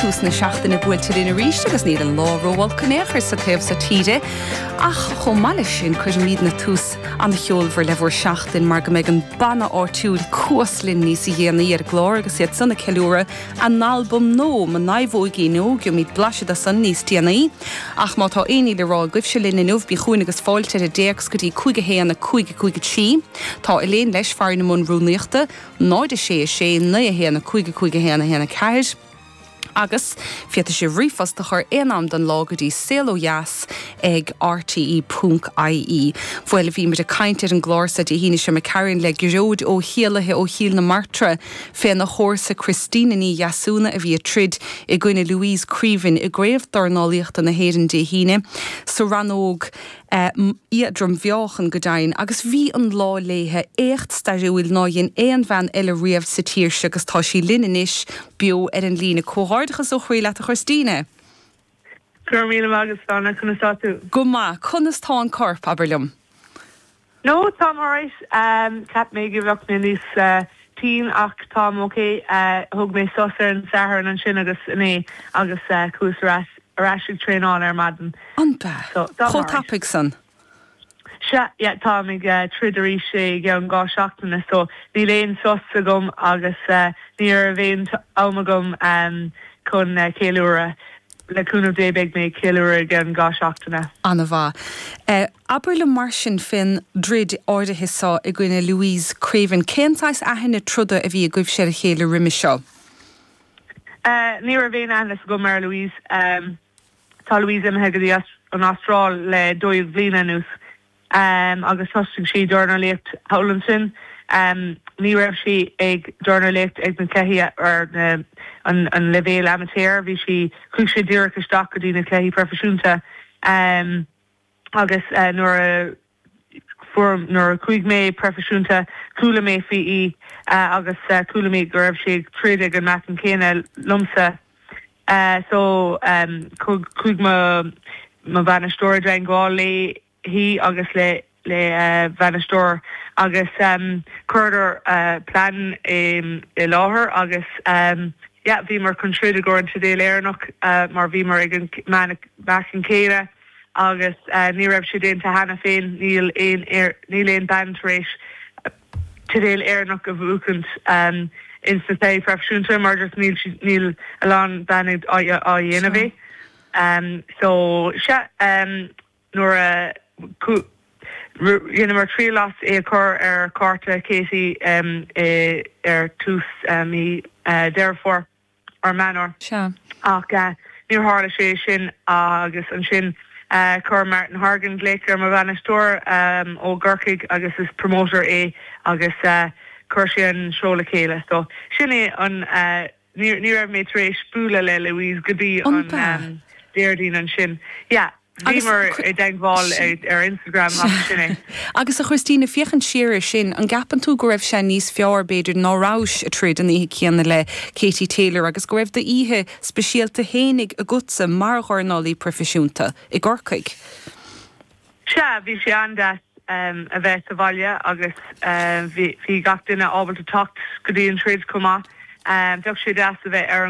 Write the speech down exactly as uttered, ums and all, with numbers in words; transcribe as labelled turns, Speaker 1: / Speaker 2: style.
Speaker 1: Tús na seachtaine buailte linn arís agus níl an lá rófhuar in aon chor sa taobh seo tíre. Ach chomh maith leis sin cuirfimidne tús an-cheolmhar le bhur seachtain mar go mbeidh an banna áitiúil Cuas linn níos déanaí ar an gclár agus iad san ag ceiliúradh a n-albam nua Mo Naomhóigín Óg gheobhaimid blaiseadh de san níos déanaí. Ach má tá aon ní le rá agaibhse linn inniu bí chugainn agus fáilte ar an dtéacs go dtí cúig a haon a cúig a cúig a trí. Tá Elaine leis fear na mbun rúnaíochta, náid a sé a sé naoi a haon a cúig a cúig a haon a haon a ceathair. Agus féadfaidh sibh ríomhphost a chur aon am den lá go dtí saol ó dheas ag RTE ponc IE. Bhuel bhí muid ag caint ar an gclár sa Dé hAoine seo Karen le Gearóid Ó hÉalaithe ó Chill na Martra féna chomharsa Christina Ní Dheasúna a bhí ag troid i gcoinne Louise Creaven i gcraobh dornálaíochta na hÉireann Dé hAoine sa rannóg éadrom-mheáchan go deimhin, agus bhí an lá léithe éacht stairiúil nár dhein aon bhean eile riamh sa tír seo agus tá sí linn anois beo ar an líne comhghairdeachas ó chroí leat a Christina.
Speaker 2: Gur mí agus anna chuna tú.
Speaker 1: Go maith conas tá an corp abair liom.
Speaker 2: No tá alright um, cheap mé go mbeadh mé níos uh, tinn ach tá ok uh, thug mé sos ar an Satharn ansin agus inné agus uh, chuas ar ais ag traenáil ar maidin.
Speaker 1: An be Chomh tapaidh san.
Speaker 2: Sea yeah, tá ag uh, troid arís i gceann dhá seachtaine so níl aon sos agam agus uh, ní raibh aon am agam um, chun uh, ceiliúradh le cúnamh Dé beidh mé ceiliúradh gan dhá seachtaine.
Speaker 1: An-mhaith. Uh, Abair liom mar sin fén dtroid áirithe seo i gcoinne Louise Creaven, cén saghas aithne troda a bhí agaibhse ar a chéile roimhe seo?
Speaker 2: Uh, ní raibh aon aithne agam ar Louise um, tá Louise imithe go dtí an Astráil le dó dhéag bliana anuas um, agus thosaigh sí dornálaíocht thall ansin. Um, ní raibh sí ag dornálaíocht ag na cluichí ar na, an, an leibhéal amateur, bhí sí chuaigh sí díreach isteach go dtí na cluichí proifisiúnta um, agus uh, nuair a fuair nuair a chuaigh mé proifisiúnta chuala mé faoi í uh, agus uh, chuala mé go raibh sí ag troid ag an meáchan céanna liomsa. Uh, so um, chuaigh mo mo bhainisteoir i dteagmháil léi agus le le uh, bainisteoir agus um, chuireadar uh, plean um, i láthair agus um, yeah, bhíomar chun troid i gcomhair an teideal Éireannach uh, mar bhíomar ag an meáchan céanna agus uh, ní raibh sé déanta cheana féin níl aon níl aon bean tar éis teideal Éireannach a bhuachaint um, in sa proifisiúnta mar just níl níl a lán ban á dhéanamh é. Um, so sea um, nuair a rinneamar triail as é a chur ar chárta Katie um, e, ar tús um, mí uh, Deireadh Fómhair ar Meán
Speaker 1: Sea.
Speaker 2: ach uh, níor tharla sé sin agus ansin uh, chuir Martin Hargan glaoch ar mo bhainisteoir um, ó Ghorcaigh agus is promoter é agus uh, chuir sé an seó le chéile so sin é an uh, ní ní raibh mé tar éis bualadh le Louise go dtí an um, Déardaoin ansin. Yeah, bhíomar i dteagmháil ar Instagram sin é.
Speaker 1: Agus a Christina féachaint siar sin an gceapann tú go raibh sé níos fearr b'fhéidir ná rabhais ag troid an oíche chéanna le Katie Taylor agus go raibh d'oíche speisialta fhéinig agatsa mar dhornálaí proifisiúnta i gCorcaigh.
Speaker 2: Sea bhí sé an-deas um, a bheith sa bhaile agus um, bhí gach duine ábalta teacht go dtí an troid chomh maith. Um, Bheadh sé deas a bheith ar